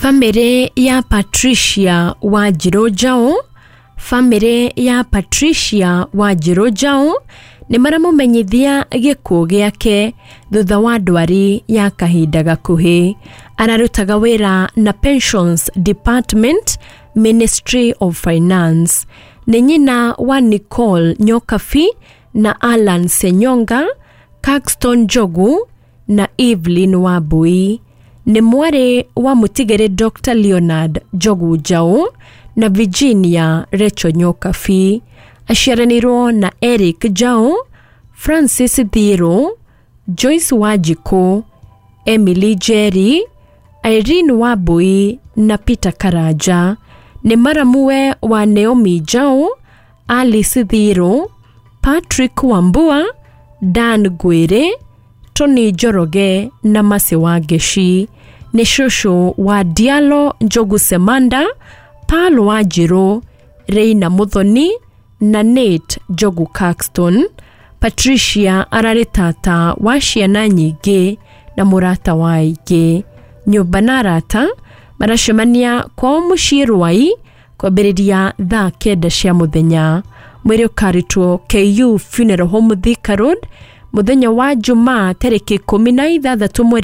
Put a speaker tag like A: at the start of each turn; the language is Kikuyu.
A: Bamĩrĩ ya Patricia Wanjirũ Njaũ. Bamĩrĩ ya Patricia Wanjirũ Njaũ nĩ maramũmenyithia gĩkuũ gĩake thutha wa ndwari ya kahinda gakuhĩ. Ararutaga wĩra na Pensions Department, Ministry of Finance. Nĩ nyina wa Nicole Nyokabi na Alan Senyonga, Caxton Njogu na Evelyn Wambui. Nĩ mwarĩ wa mũtigĩrĩ Dr. Leonard Njogu Njaũ na Virginia Recho Nyokabi. Aciaranĩirwo na Eric Njaũ, Francis Thiru, Joyce Wanjikũ, Emily Njeri, Irene Wambui na Peter Karanja. Nĩ maramuwe wa Naomi Njaũ, Alice Thiru, Patrick Wambua, Dan Ngwĩrĩ, Tony Njoroge na Mercy Wangeci. Nĩ cũcũ wa Diallo Njogu Semanda, Paul Wanjirũ, Reina Muthoni na Nate Njogu Caxton. Patricia ararĩ tata wa ciana nyingĩ na mũrata wa aingĩ. Nyũmba na arata maracemania kwao mũciĩ Rwai kwambĩrĩria thaa 9 cia mũthenya. Mwĩrĩ ũkarutwo KU Funeral Home, Thika Road, mũthenya wa Jumaa tarĩki 16 mweri.